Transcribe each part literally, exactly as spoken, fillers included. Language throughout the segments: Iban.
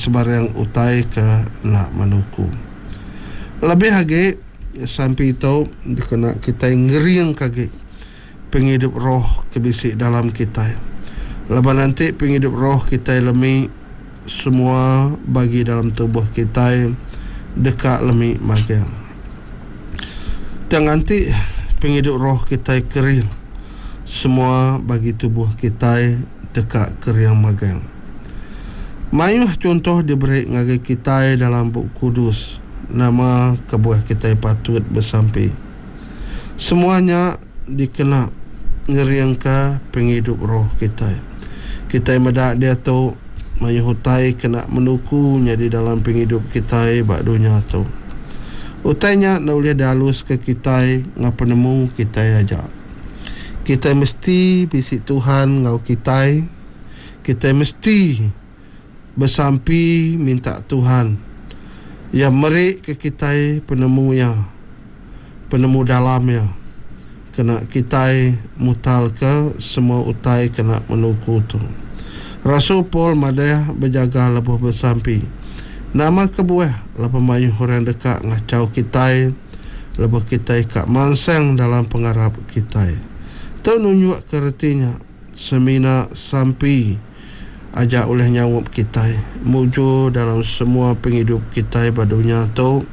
sebarang utai ke enda menuku. Lebih agi sampi tu dikena kitai ngeringka agi pengidup roh ke bisi dalam kitai. Laban enti pengidup roh kitai lemi, semua bagi dalam tubuh kitai deka lemi magang. Tang enti pengidup roh kitai kering, semua bagi tubuh kitai deka kering magang. Mayuh chunto diberi ngagai kitai dalam Bup Kudus nama kebuah kitai patut besampi. Semua nya dikena ngeringka pengidup roh kitai. Kitai meda diatu mayuh utai kena menuku nyadi dalam pengidup kitai ba dunya tu. Utai nya enda ulih dialuska kitai enggau penemu kitai aja. Kitai mesti bisi Tuhan enggau kitai. Kitai mesti besampi minta Tuhan Iya meri ke kitai penemu Iya, penemu dalam Iya kena kitai mutarka semua utai kena menuku tu. Rasul Paul madah bejaga lebuh besampi. Nama kebuah laban mayuh orang deka ngachau kitai lebuh kitai ka mansang dalam pengarap kitai. Tu nunjukka reti nya semina sampi aja ulih nyaup kitai mujur dalam semua pengidup kitai ba dunya tu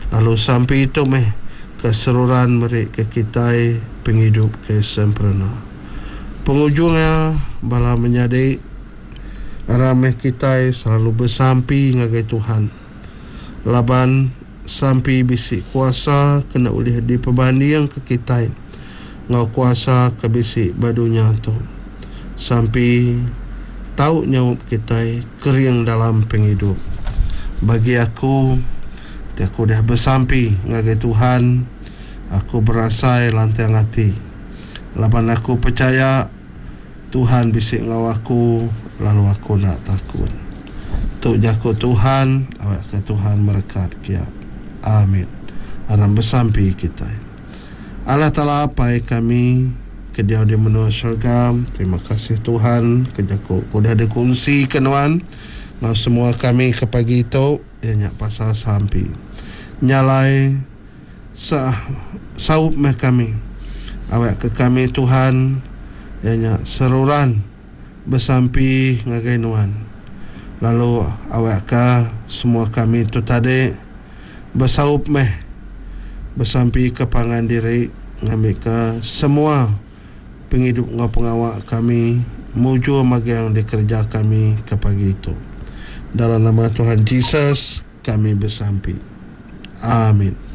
lalu sampi tu meh ke seruran meri ke kitai pengidup ke sempurna. Pengujung iya bala menyadi aram meh kitai selalu besampi ngagai Tuhan laban sampi bisi kuasa kena ulih dipebandingka kitai enggau kuasa ke bisi ba dunya tu. Sampi tau nyaup kitai kering dalam pengidup. Bagi aku, ti aku udah besampi ngagai Tuhan, aku berasai lantang ati laban aku pechaya Tuhan bisi enggau aku lalu aku enda takut. Tu jaku Tuhan, awakka Tuhan merekat kiya. Amin. Aram besampi kitai. Allah Taala Apai kami ke diau di menua syurga, terima kasih Tuhan ke jaku ke udah dikunsika nuan enggau semua kami ke pagi tu iya nya pasal sampi. Nya alai sa saup meh kami awakka kami Tuhan iya nya seruran besampi ngagai nuan lalu awakka semua kami tu tadi besaup meh besampika pangan diri ngambika semua pengidup enggau pengawa kami mujur magang dikereja kami ke pagi tu. Dalam nama Tuhan Jesus kami besampi. Amin.